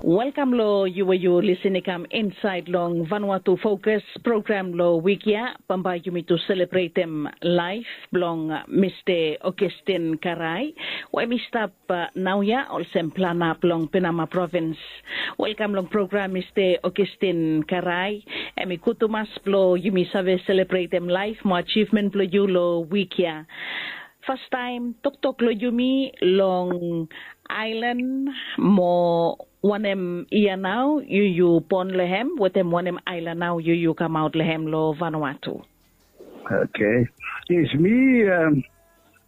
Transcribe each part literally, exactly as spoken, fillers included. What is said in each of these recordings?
Welkam long yu we yu lisin i kam insaed long Vanuatu Fokus program long wik ya. Bambae yumi tu selebretem laef blong Mista Augustin Karai we hem i stap naoia olsem plana blong Penama provins. Welkam long program Mista Augustin Karai. Hem i gud tumas blong yumi save selebretem laef mo ajivmen blong yu long wik ya. Fastaem toktok long yumi long aelan mo wanem yia nao yu yu bon long hem wetem wanem aelan nao yu yu kamaot long hem long Vanuatu? Okay. Yes, mi um,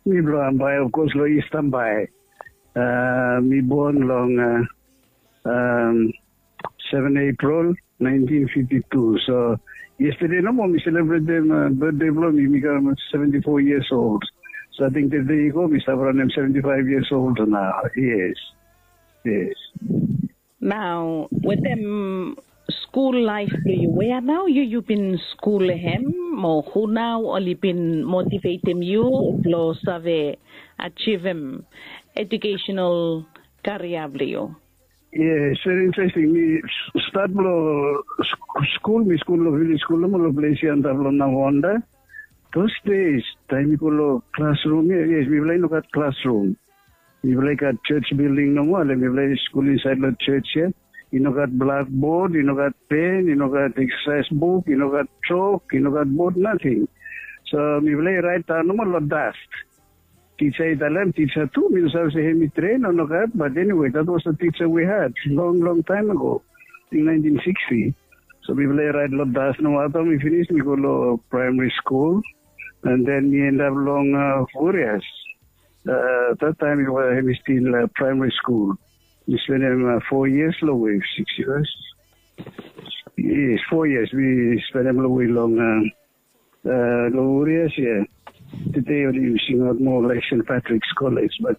mi blong Ambae, of course, long East Ambae. Uh, mi bon long uh, um, seven April nineteen fifty-two. So yesterday nomo mi celebrate dem uh, birthday blong mi, mi kam seventy-four years old. So I think the day ago mi stap around them seventy-five years old now. Yes. Yes. Nao wetem skul laef blong yu, wea nao yu yu bin skul hem mo hu nao oli bin motivetem yu blong save ajivem educational karia blong yu? Yes, very interesting. Mi start blong skul, mi skul long village skul nomo long ples ya antap long Navonda. Those days taem mi go long klasrum ya, yes, mifala i no gat klasrum. Mifala i gat church building nomo, ale mifala i skul insaed long church ya. I no gat blackboard, i no gat pen, i no gat exercise book, i no gat chalk, i no gat board, nothing. So mifala i raet daon nomo long dust. Teacher i talem, teacher tu, mi no save se hem i train o nogat, but anyway, that was the teacher we had long long time ago, in nineteen sixty. So mifala i raet long dust nomo, afta mi finis mi go long primary school, and then mi end up long uh, Furias. Uh, that time it was, it was still uh, primary school. Mi spend them uh, four years long way, six years. Yes, four years. We spend them long way long uh, uh, long Furias, yeah. Today only using out more like Saint Patrick's College, but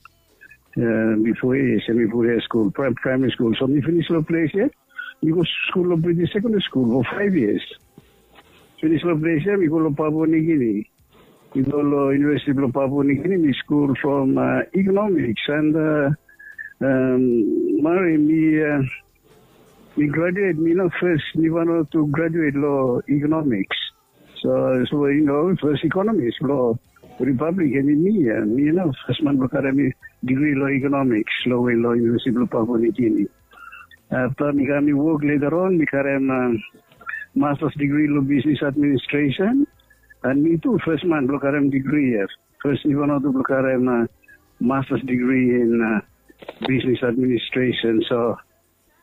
uh, before yes, semi Furias school, prim- primary school. So we finish long place, yeah. We go school long British secondary school for five years. Finish long place ya, mi go long Papua New Guinea. Mi go long University blong Papua New Guinea, mi skul from uh, economics and uh, um, mari mi uh, mi graduate, mi no first mi Vanuatu graduate long economics. So so you know, first economist blong Republic, and mi uh, mi no first man blong karem mi degree long economics long way long University blong Papua New Guinea. Afta mi kam mi wok later on, mi karem uh, master's degree long business administration. And mi tu first man blong karem degree ya. First mi Vanuatu blong karem uh, master's degree in uh, business administration. So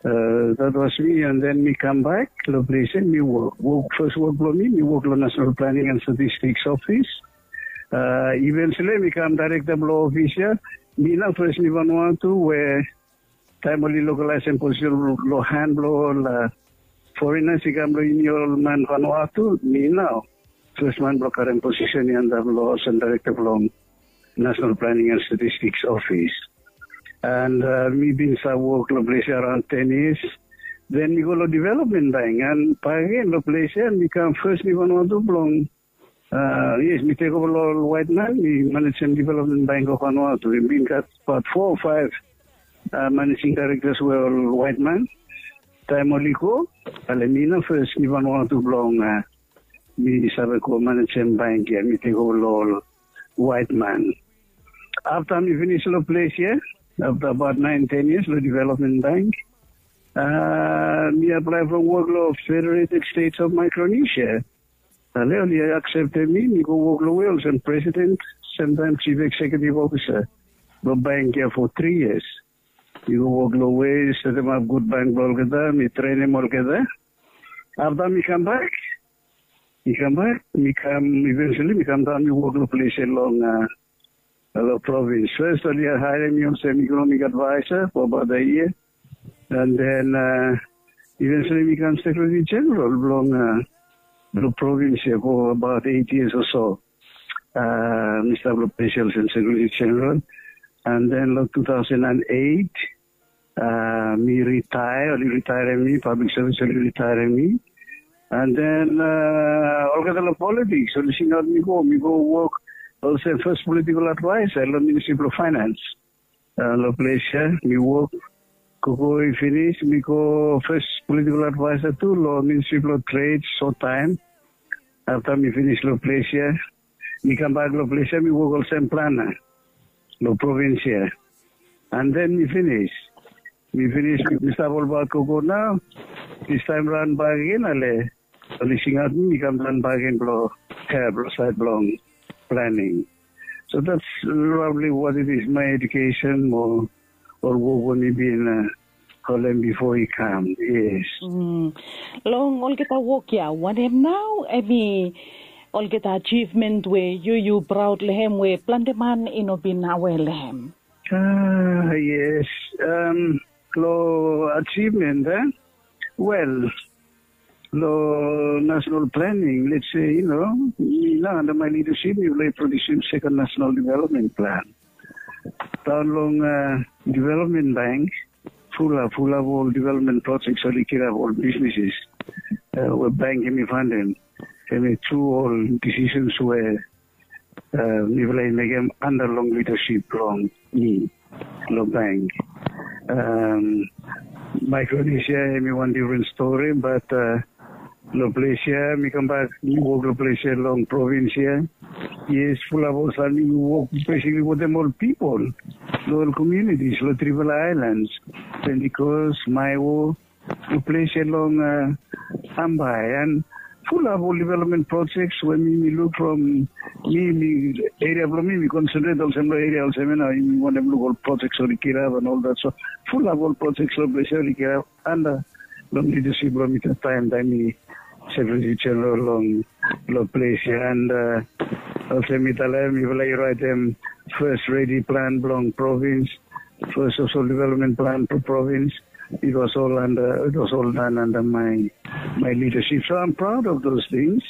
uh, that was me, and then mi kam back long place and mi work. Work first work blong mi, mi work long National Planning and Statistics Office. Uh, eventually mi kam director blong office ya. Mi na first mi Vanuatu we taem oli lokalaesem posisen long han blong ol uh, foreigners i kam long ini ol man Vanuatu, mi nao first man blong karem posisen i antap long ol sen director blong National Planning and Statistics Office. And uh, mi bin stap wok long ples ya around ten years. Then mi go long development bank and bakegen long ples ya mi kam first mi Vanuatu blong Uh, yes, mi tek ova long ol waet man, mi manejem development bank of Vanuatu. Mi bin gat abaot foa o faef uh, managing directors we ol waet man. Taem oli go, ale mi na fes mi Vanuatu blong uh, mi save go manejem bank ya, mi tek ova long ol waet man. Afta mi finis long ples ya, afta abaot naen ten yias long development bank, uh, mi aplae from wok long Federated States of Micronesia. Ale oli akseptem mi, mi go wok long we olsem presiden, semtaem chief executive officer blong bank ya fo tri yias. Mi go wok long we setemap gud bank blong olgeta, mi trenem olgeta. Afta mi kambak, mi kambak, mi kam, eventually mi kamdaon mi wok long ples ya long uh, long provins. Fes oli haerem mi olsem economic adviser fo abaot a yia. And then uh, eventually mi kam secretary general blong uh, blong provins ya fo abaot eight yias o so. Uh, mi stap long ples ya olsem secretary general. And then long two thousand and eight, uh, mi ritaea, oli ritaerem mi, public service oli ritaerem mi. And then uh, olgeta long politiks oli singaot mi go, mi go wok olsem fes political adviser long ministry blong finance. Uh, long ples ya mi wok Koko i finis, mi go fes politikal advaesa tu long Ministri blong Tred, sot taem. Afta mi finis long ples ya, mi kambak long ples ya, mi wok olsem plana long provins ya. And then mi finis. Mi finis, mi stap olbaot koko nao. Distaem raon bak agen, ale oli singaot mi, mi kam raon bak agen blong, ya, blong saed blong planing. So that's roughly what it is, my education mo ol wok we mi bin, uh, holem bifo i kam. Yes. Mm. Long olgeta wok ya, wanem nao hemi olgeta achievement we yu yu praod long hem we plante man i no bin aware long hem? Ah, yes. Um, long achievement, eh? Well, long national planning, let's say, you know, mi nao under my leadership, mifala i produsim second national development plan. Daon long, uh, development bank, fulap, fulap ol development projects oli kirap ol businesses, uh, we bank hemi fundem. Hemi tru ol decisions we, uh, mifala i mekem under long leadership blong mi long bank. Um, Micronesia hemi wan different story, but, uh, long ples ya, mi kambak, mi wok long ples ya long provins ya. Yes, fulap ol taem mi wok basically wetem ol pipol, long ol communities, long trifala aelan. Pentecost, Maewo, long ples ya long, uh, Hambai, and fulap ol development projects we mi, mi luk from mi, mi, eria blong mi, mi concentrate olsem long eria olsem ya nao, mi wantem luk ol projects oli kirap and all that. So fulap ol projects long ples ya oli kirap under long leadership blong mi taem, taem mi Secretary General long, long ples ya. And, uh, olsem mi talem, mifala i raetem fes ready plan blong provins, fes social development plan blong provins. It was all under, it was all done under my, my leadership. So I'm proud of those things.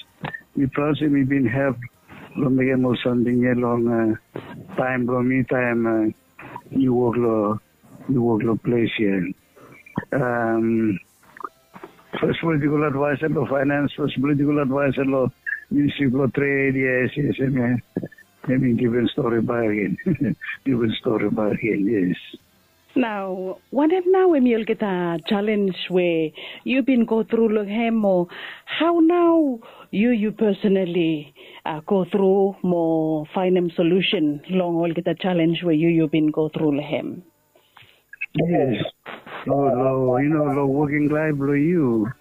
Mi praod se mi bin help long mekem ol samting ya long, uh, taem blong mi, taem, uh, mi wok long, mi wok long ples ya. Um, fes politikal advaesa long finance, fes politikal advaesa long Ministri blong Tred, yes, yes, hemi, hemi different story bak agen. Different story bak agen, yes. Nao, wanem nao hemi olgeta challenge we yu bin go tru long hem, o hao nao yu, yu personally, uh, go tru mo faenem solution long olgeta challenge we yu, yu bin go tru long hem? Yes. Long, long, you know, long woking laef blong yu,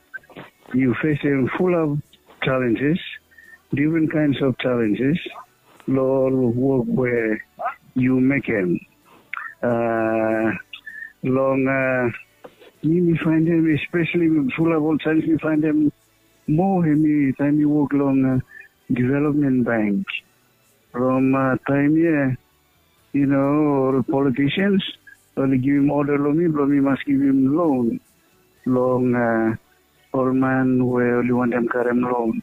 yu fesem fulap challenges, different kinds of challenges, long ol wok we yu mekem. Uh, long, uh, mi, mi faenem, especially fulap ol challenge mi faenem moa, hemi taem mi wok long, uh, development bank. From, uh, taem ya, you know, ol politicians oli givim oda long mi blong mi mas givim loan long, uh, ol man we oli wantem karem loan.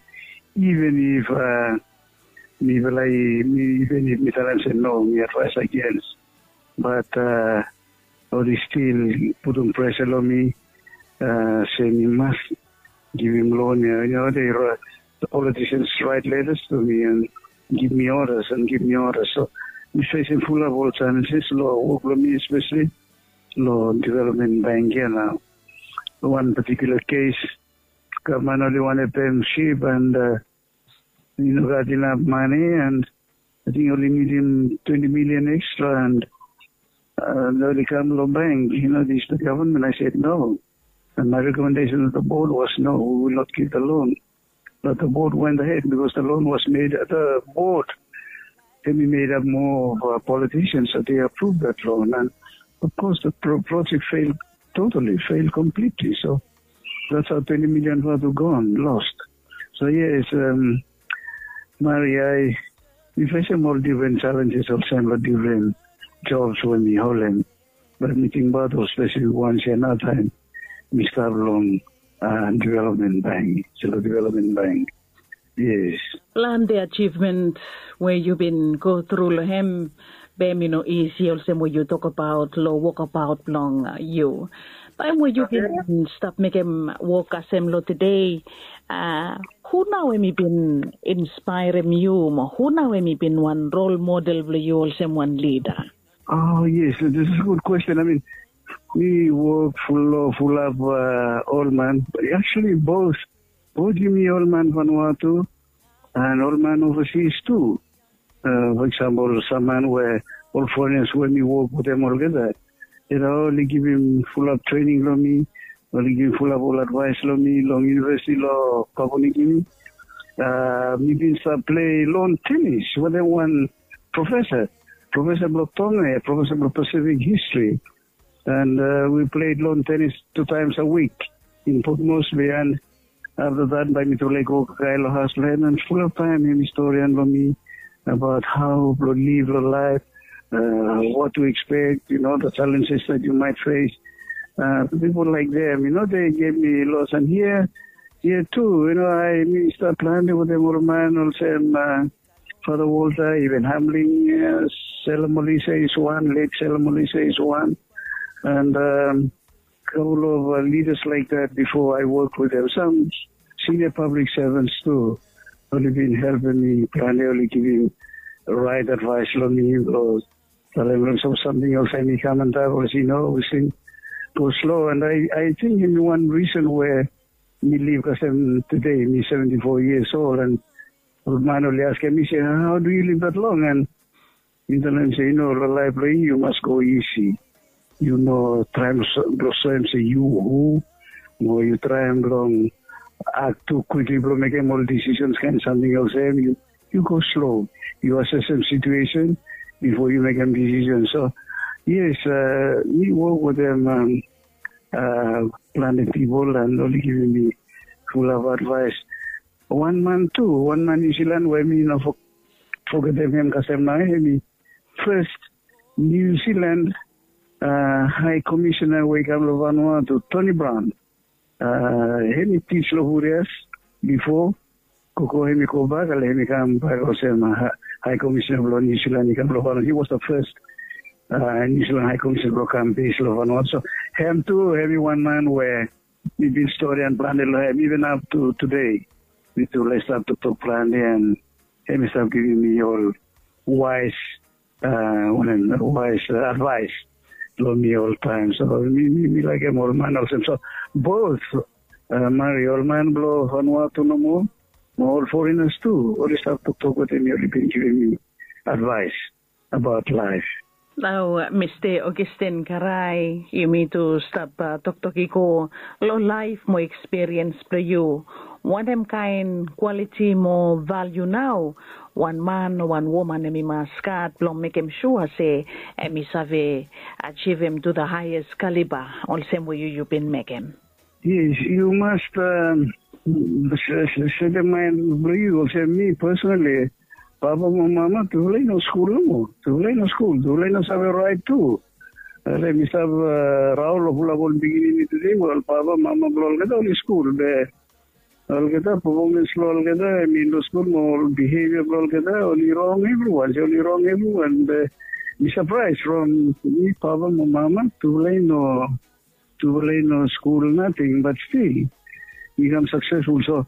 Even if, uh, mifala i, mi, even if mi talem se no, mi advaes against. But, uh, oli stil putum presa long mi, uh, se mi mas givim loan ya. You know, they write, the politicians write letters to me and give me orders and give me orders. So mi fesem fulap ol challenges long wok blong mi, especially long development bank ya nao. Wan particular case, gavman oli wantem pem sip and, uh, i no gat inap mane, and ating oli nidim twenti milian extra, and, uh, oli kam long bank, you know, this the government. I said no. And my recommendation to the board was, no, we will not give the loan. But the board went ahead because the loan was made at the board. Hemi made up more of, uh, politicians, so they approved that loan. And of course, the pro-, project failed totally, failed completely. So that's how twenty million vatu gone, lost. So yes, um, Maria, mi fesem ol different challenges olsem long different jobs we mi holem. But mi tingbaot ol spesifik wans ya nao taem mi stap long, uh, development bank, Selo Development Bank. Yes. Plante achievement we yu bin go tru long hem, be hemi no isi olsem we yu tokbaot long wokabaot blong, uh, yu. Taem we yu bin stap mekem wok kasem long tede, uh, hu nao hemi bin inspaerem yu, mo hu nao hemi bin wan role model blong yu olsem wan lida? Oh, yes, this is a good question. I mean, Mi wok ful long fulap ol man, actually bot, bot yumi ol man Vanuatu and ol man ovasis tu. For example, sam man we ol forenas we mi wok wetem olgeta, yu no, oli givim fulap trening long mi, oli givim fulap ol advaes long mi long yunivesiti long Papua New Guinea. Mi bin stap plei lon tenis wetem wan profesa, profesa blong Tonga ya, profesa blong Pacific History. And we played lon tenis tu taims a wik in Port Moresby. And afta dat bae mi tu laik go kakae long haos blong hem, and fulap taem hem i storian long mi abaot hao blong liv long laef, what to expect, you know, the challenges that you might face. People like them, you know, they gave me lots. And here, here too, you know, I mi stap plante wetem ol man olsem Father Walter, even Hamling, Sela Molisa is one, late Sela Molisa is one, and couple of leaders like that before I work with them. Some senior public servants too, oli bin helpem mi plante, oli givim raet advaes long mi, o talem long sam samting olsem i kam antap, olsem i no, olsem go slo. And I, I think hemi wan risen we mi liv kasem tede, mi seventy four years old, and ol man oli askem mi se, "Hao do yu liv dat long?" And mi talem se, "Yu no, long laef blong yu, yu mas go isi. Yu no traem blong soem se yu hu, mo yu traem blong aktu kwikli blong mekem ol disisens kaen samting olsem. Yu, yu go slo, yu asesem situesen bifo yu mekem disisens." So yes, mi wok wetem plante pipol, and oli givim mi fulap advaes. Wan man tu, wan man Niu Silan we mi no fogetem hem kasem nao, hemi fes Niu Silan Hae Komisena we i kam long Vanuatu, Tony Brown. Hemi tij long Hurias bifo, koko hemi gobak, ale hemi kambak olsem Hae Komisena blong Niu Silan i kam long Vanuatu. He was the first Niu Silan Hae Komisena blong kam bes long Vanuatu. So hem tu hemi wan man we mi bin storian plante long hem, iven aptu tude. Mi tu laik stap toktok plante, and hem i stap givim mi ol waes, wanem, waes advaes long mi oltaem. So mi, mi, mi laekem ol man olsem. So bot Mari, ol man blong Vanuatu nomo, mo ol forenas tu, oli stap toktok wetem mi, oli bin givim mi advaes abaot laef. Nao Mista Augustine Karae, yumi tu stap toktok i go long laef mo ekspiriens blong yu. Wanem kaen kwaliti mo valiu nao wan man o wan woman hemi mas gat blong mekem sua se hemi save ajivim tu the highest caliber olsem we yu, yu bin mekem? Yes, yu mas setem maen blong yu olsem mi personally, papa mo mama tufala i no skul nomo, tufala i no skul, tufala i no save raet tu. Ale mi stap raon long fulap ol pikinini tude we ol papa mama blong olgeta oli skul, be olgeta pefomans blong olgeta, I mean, long skul mo ol bihevia blong olgeta oli rong evriwan, se oli rong evriwan. Be mi sapraes from mi papa mo mama tufala i no, tufala i no skul nating, bat stil i kam saksesful. So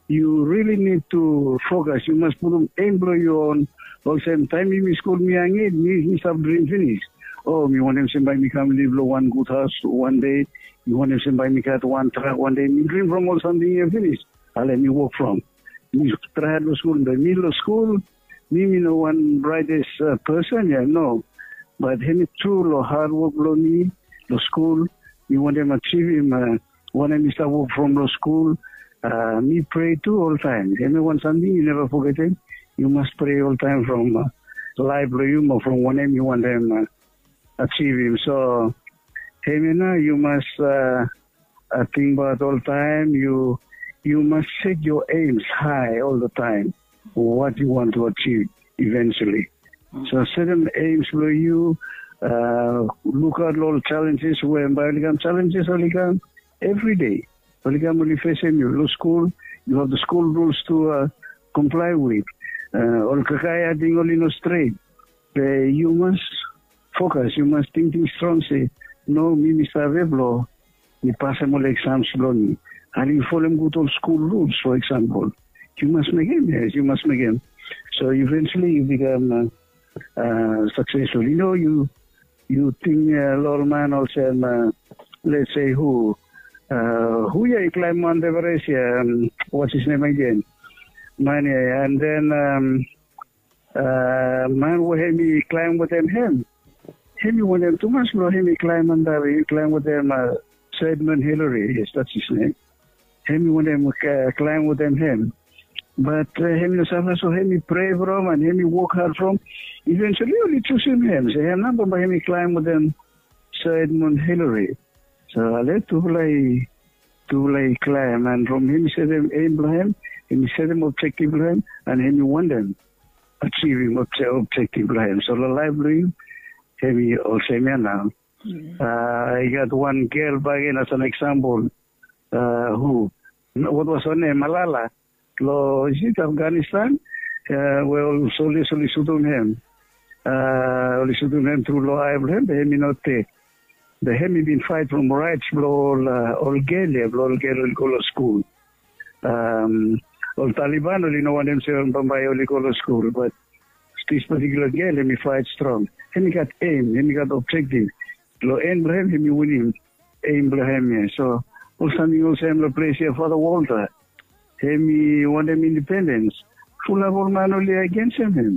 yu rili nid tu fokas, yu mas putum eim blong yu on. Olsem taem mi, mi skul mi yanged, mi, mi stap drim finis, o mi wantem se bae mi kam liv long wan gud haos wan dei, mi wantem se bae mi gat wan trak wan dei. Mi drim from ol samting ya finis. Ale mi wok from, mi traem long skul, be mi long skul, mi, mi no wan braetes pesen ya, no. Bat hemi tru long hadwok blong mi long skul, mi wantem ajivim wanem mi stap wok from long skul. Mi prea tu oltaem, hemi wan samting yu neva fogetem. Yu mas prea oltaem from laef blong yu mo from wanem yu wantem ajivim. So hemia nao yu mas tingbaot oltaem, yu, yu mas set your aims high all the time, what you want to achieve eventually. So setem aims blong yu, lukaot long ol challenges we bae oli kam. Challenges oli kam evri dei. Oli kam, oli fesem yu long skul. You have the school rules to comply with. Ol kakae ating oli no stret. Be yu mas fokas, yu mas tingting strong se, no, mi, mi save blong mi pasem ol exams blong mi. Ale yu folem gud ol skul ruls, for example. Yu mas mekem, yes, yu mas mekem. So eventually yu bikam saksesful. Yu no, yu yu ting long ol man olsem, let's say hu, hu ya i klaim Mount Everest ya, what's his name again? Man ya, and then man we hem i klaim wetem hem, hem i wantem tumas blong hem i klaim antap, i klaim wetem Sir Edmund Hillary, yes, that's his name. Hem i wantem klaim wetem hem. Bat hem i no save, so hem i prea from and hem i wok had from. Eventually oli jusum hem, se hem nao bambae hem i klaim wetem Sir Edmund Hillary. So ale tufala i tufala i klaim, and from hem i setem aim blong hem, hem i setem objektif blong hem, and hem i wantem ajivim objektif blong hem. So long laef blong hem, hem i olsem ya nao. I gat wan gel bakegen as an eksampol, hu, what was her name, Malala, long, is it Afghanistan, we ol soldiers oli sutum hem, oli sutum hem tru long ae blong hem, be hem i no ded. Be hem i bin faet from raets blong ol gel ya, blong ol gel oli go long skul. Ol Taliban oli no wantem se bambae oli go long skul, bat this particular gel hem i faet strong. Hem i gat aim, hem i gat objektif. Long en blong hem hem i winim aim blong hem ya. So ol samting olsem long ples ya, Father Walter, hem i wantem independens. Fulap ol man oli agensem hem.